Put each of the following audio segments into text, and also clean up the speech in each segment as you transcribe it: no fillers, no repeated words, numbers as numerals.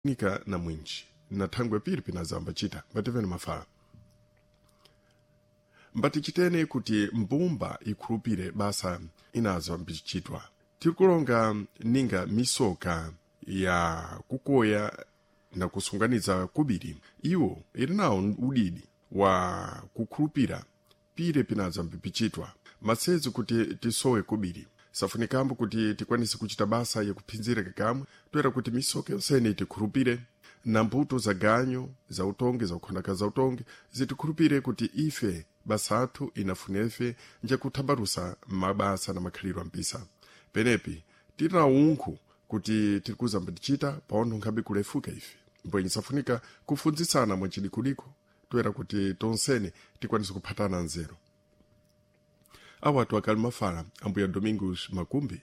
Nika na mwinji na thangwe piri pinazamba chita mbativene mafala mbatichitene kuti mbumba ikhulupire basa inazo mbichitwa tirikulonga ninga misoka ya kukoya na kusunganiza kubiri iwo ili nawo udidi wa kukhulupira pire pinazo mbipichitwa masezi kuti tisowe kubiri safunikambo kuti tikwanise kuchita basa yakuphinzira kakamwe toera kuti misoka yonsene itikhulupire na mbuto za ganyo za utongi za ukhondaka za utongi zitikhulupire kuti ife basa athu inafunefe njakuthambalusa mabasa na makhalidwe ampisa penepi tili na unkhu kuti tirikuzamba tichita paontho nkhabe kulefuka ife mbwenye safunika kufunzitsana mwachidikudiko toera kuti tonsene tikwanise kuphatana nzeru awatu akali mafala ambuya Domingos Makumbi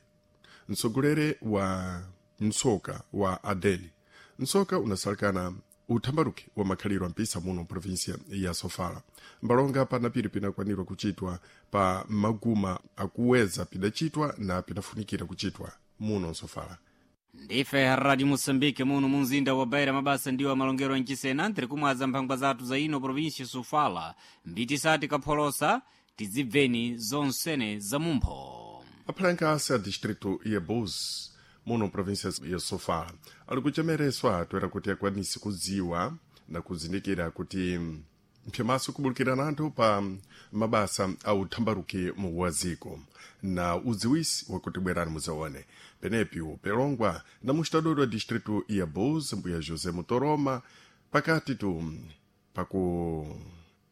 mtsogolere wa mtsoka wa Adeli mtsoka unasalikana uthambaluki wa makhalidwe ampisa muno provinsia ya Sofala mbalonga panapiri pinakwanirwa kuchitwa pa maguma akuweza pidachitwa na pinafunikira kuchitwa muno Sofala. Ndife Radio Moçambique muno munzinda wa Beira mabasa ndiwo amalongero anchisena ntiri kumwaza mphangwa zathu za ino província Sofala mbitisati kapholosa tizibveni zonsene za mumpho. Aphalanka a distrito ya Búzios muno província ya Sofala ali kuchemereswa toera kuti akwanise kudziwa na kuzindikira kuti mphyamaso kubulukirana anthu pa mabasa a uthambaluki mu waziko na udziwisi wakuti bwerani muzaone penepi upelongwa na mustadori wa distrito ya Búzios mbuya José Mutoroma pakati tu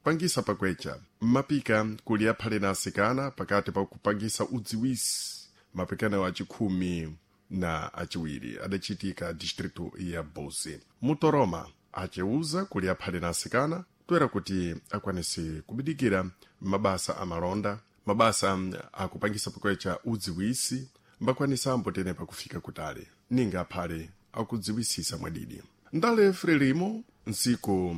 pakupangisa pakwecha mapika kuli aphale na asikana pakati pakupangisa udziwisi mapikano achikhumi na achiwiri adachitika distrito ya Búzios. Mutoroma achiuza kuli aphale na asikana toera kuti akwanise kubidikira mabasa amalonda mabasa akupangisa pakwecha udziwisi mbakwanisa ambotene pakufika kutali ninga aphale akudziwisisa mwadidi ndale frelimo ntsiku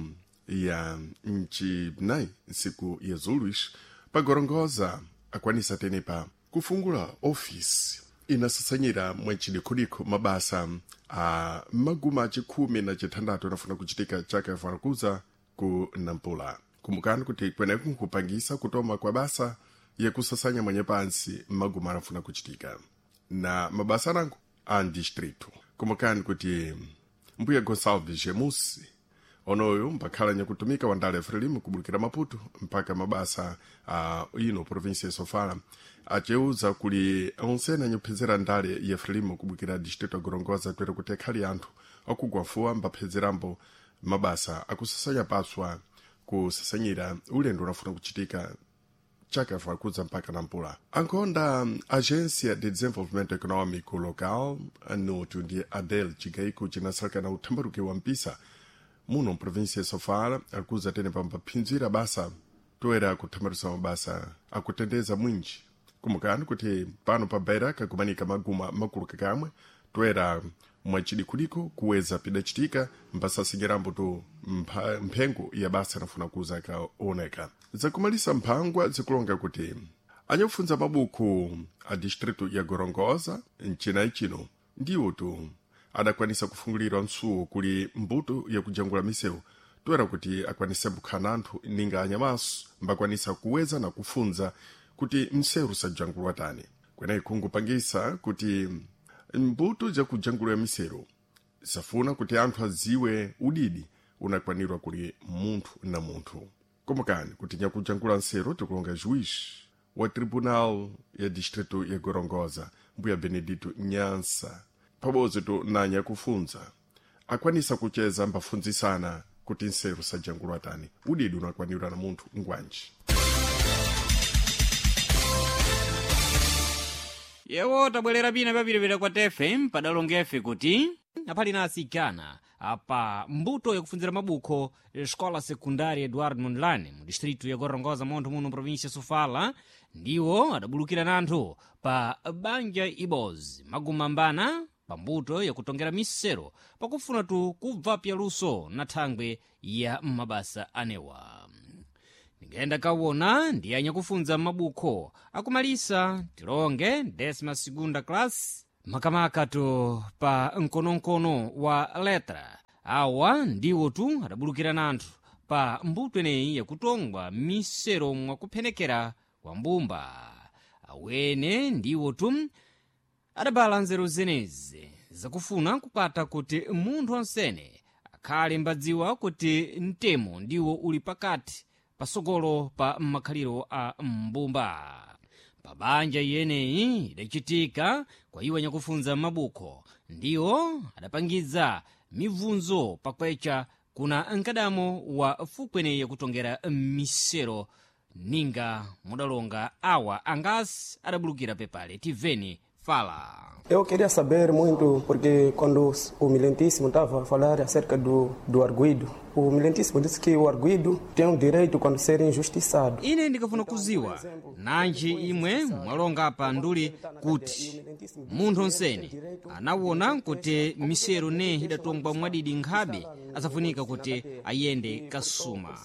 ya mchinayi ntsiku ya zuluish pagorongoza akwanisa tenepa kufungula ofisi inasasanyira mwachidikudikho mabasa a maguma achikhumi na chithandathu anafuna kuchitika chaka yafanakuza ku Nampula kumbukani kuti kweneku nkupangisa kutoma kwa basa yakusasanya mwenye pansi maguma anafuna kuchitika na mabasa anango a distrito kumbukani kuti mbuya Gonçalves Gemusi onoyo mpakhala nyakutumika wandale frelimo kubulukira Maputo mpaka mabasa a ino província ya Sofala aceuza kuli onsene anyakuphedzera ndale ya frelimo kubulukira distrito ya Gorongosa toera kuti akhali anthu akugwafuwa mbaphezerambo mabasa akusasanya paswa kusasanyira ulendo unafuna kuchitika chaka fakudza mpaka Nampula ankhonda Agência de Desenvolvimento Econômico Local notu ndi Adel chigaiko chinasalakana uthambaluki wa mpisa muno mprovinsia ya Sofala akuza tene pambaphinzira basa toera kuthambalusa mabasa akutendeza mwinji kumbukani kuti pano pa Beira kakumanika maguma makulu kakamwe toera mwachidikudiko kuweza pidachitika mbasasinyirambo tu mphengo ya basa inafuna kuza kaoneka zakumalisa mphangwa zikulonga kuti anyakufunza mabuku a distrito ya Gorongosa mchinayi chino ndiwo tu adakwanisa kufungulirwa msuwo kuli mbuto yakujangula misewu toera kuti akwanise kukhana anthu ninga anyamaso mbakwanisa kuweza na kufunza kuti msewu sajangulwa tani kweneyi kungupangisa kuti mbuto jakujangulwa miseru safuna kuti anthu adziwe udidi unakwanirwa kuli munthu na munthu komokani kuti nyakujangula nseru tikulonga juiz wa tribunal ya distrito ya Gorongosa mbuya Benedito Nyansa pabodzi tu na nyakufunza akwanisa kucheza mbafunzisana kuti nseru sajangulwa tani udidi unakwanirwa na munthu ngwanji. Yewo tabwerera pina papitapita kwa tefe padalongefe kuti aphali na asikana apa mbuto yakufunzira mabukho escola secundária Eduardo Mondlane mu distrito ya Gorongosa montho muno província Sofala ndiwo adabulukira nanthu pa banja ibozi magumambana pa mbuto yakutongera misero pakufuna tu kubva pyaluso na thangwe ya mabasa anewa. Ndingayenda kawona ndi anyakufunza mabukho akumalisa tilonge décima segunda classe. Makamaka-tu pa mkonomkono wa letra awa ndiwo tu adabulukira nanthu pa mbuto ineyi yakutongwa misero mwakuphenekera kwa mbumba. Awene ndiwo tu adabala nzeru zenezi zakufuna kukwata kuti munthu onsene akhale mbadziwa kuti mtemo ndiwo uli pakati pasogolo pa makhaliro a mbumba. Pabanja iyeneyi idachitika kwa iwo anyakufunza mabukho ndiwo adapangiza mibvunzo pakwecha kuna mkadamo wa fukweneyi yakutongera misero ninga mudalonga awa angasi adabulukira pepale. Tiveni fala. Eu queria saber muito, porque quando o Milentíssimo estava a falar acerca do arguido, o Milentíssimo disse que o arguido tem o direito quando ser injustiçado. Ine ndikafuna kuziwa nanji imwe mwalonga apa nduli kuti munthu onsene anawona kuti misero ne idatongwa mwadidi nkhabe asafunika kuti ayende kasuma.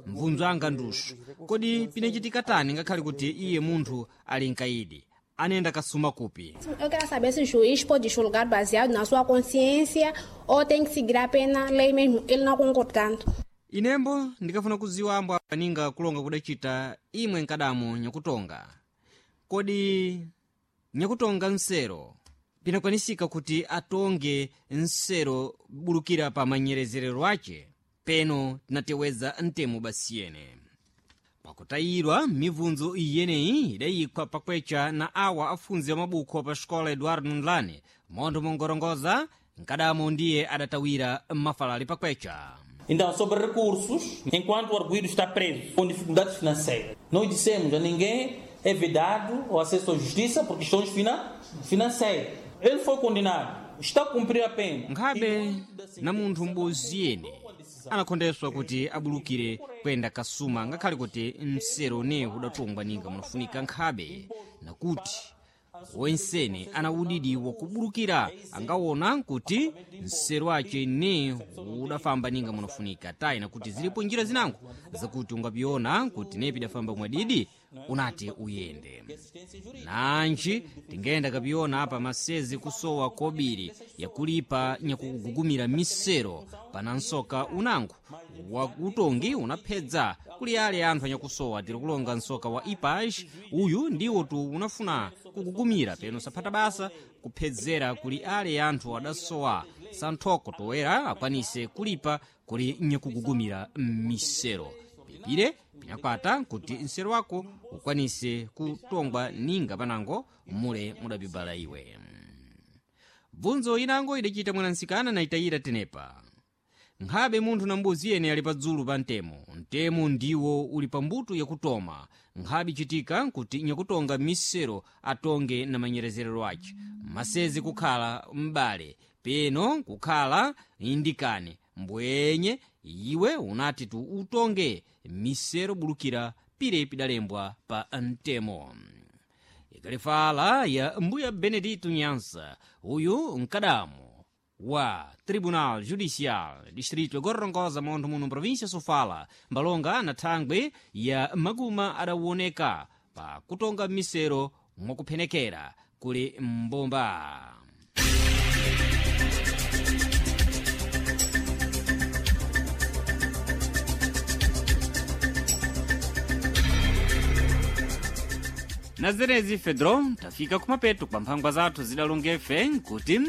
Mvunzo anga ndusu, kodi pinachitika tani ngakhale kuti iye munthu ali mkaidi anenda kasuma kupi? Eu quero saber se o juiz pode julgar baseado na sua consciência ou tem que seguir a pena lei mesmo, ele não concordando. Inembo ndikafuna kuziwa ambo aninga kulonga kudachita imwe nkadamo nyakutonga. Kodi nyakutonga nsero pinakwanisika kuti atonge nsero bulukira pa manyerezerero ace? Peno tinateweza mtemo basiyene. Pakutayirwa mibvunzo iyeneyi idayikwa pakwecha na awa afunzi amabukho pa xikola Eduardo Ndlane montho mongorongoza nkadamo ndiye adatawira mafalali pakwecha. Então, sobre recursos, enquanto o arguido está preso com dificuldades financeiras, nós dissemos a ninguém é vedado o acesso à justiça por questões financeiras. Ele foi condenado, está a cumprir a pena. Nkhabe na munthu m'bodzi yene anakhondeswa kuti abulukire kuyenda kasuma ngakhale kuti msero ne udatongwa ninga munafunika nkhabe nakuti wensene ana udidi wakubulukira angawona kuti msero wace ne udafamba ninga munafunika tayi nakuti zilipo njira zinango zakuti ungapiona kuti ne pidafamba mwadidi unati uyende. Nanji tingenda kapiona apa masezi kusowa kobiri yakulipa nyakugugumira misero pana nsoka unango wa utongi unaphedza kuli ale anthu anyakusowa. Tiri kulonga nsoka wa ipaj uyu ndiwo tu unafuna kugugumira peno saphata basa kuphedzera kuli ale anthu adasowa santhoko toera akwanise kulipa kuli nyakugugumira misero. Pipire pinakwata kuti msero wako ukwanise kutongwa ninga panango mule mudabibala iwe. Bvunzo inango idachita mwanansikana na itayira tenepa. Nkhabe munthu na mbuzi yene ali padzulu pa mtemo, mtemo ndiwo uli pa mbuto yakutoma. Nkhabe ichitika kuti nyakutonga misero atonge na manyerezerero ace masezi kukhala m'bale peno kukhala indikane mbwenye iwe unati tu utonge misero bulukira pire pidalembwa pa mtemo. Ikalifala ya mbuya Benedito Nyansa, uyu mkadamo wa Tribunal Judicial Distrito ya Gorongosa montho muno província Sofala mbalonga na thangwe ya maguma adawoneka pa kutonga misero mwakuphenekera kuli mbumba. Na zenezi Fedro tafika kumapeto kwa mphangwa zathu zidalongefe nkuti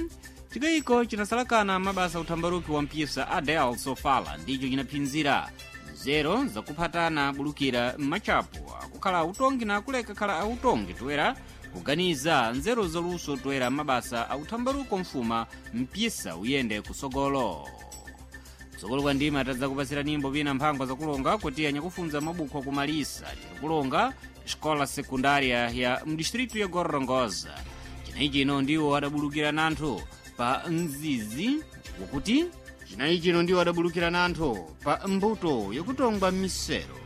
chikayiko chinasalakana mabasa uthambaruki wa mpisa Adel Sofala ndicho chinaphinzira nzero zakuphatana bulukira m'machapo akukhala autongi na akuleka khala autongi toera kuganiza nzeru zaluso toera mabasa authambaruko mfuma mpisa uyende kusogolo. Kusogolo kwa ndima tadzakupasira nimbo pina mphangwa zakulonga kuti anyakufunza mabukho akumalisa tirikulonga xikola sekundária ya mdistritu ya Gorongosa. Chinayi chino ndiwo adabulukira nanthu pa mzizi wakuti chinayi chino ndiwo adabulukira nanthu pa mbuto yakutongwa misero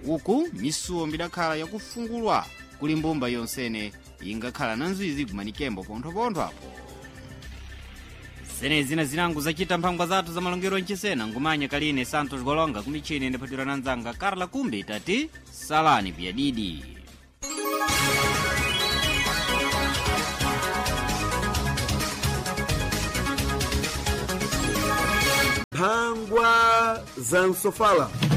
uku misuwo mbidakhala yakufungulwa kuli mbumba yonsene ingakhala na nzizi kumanikembo ponthopontho apo. Zenezi na zinango zacita mphangwa zathu za malongero nchisena ngumanya kaline Santos Golonga kumichini ndiphatira na nzanga Carla Kumbe tati salani pyadidi. Za Sofala.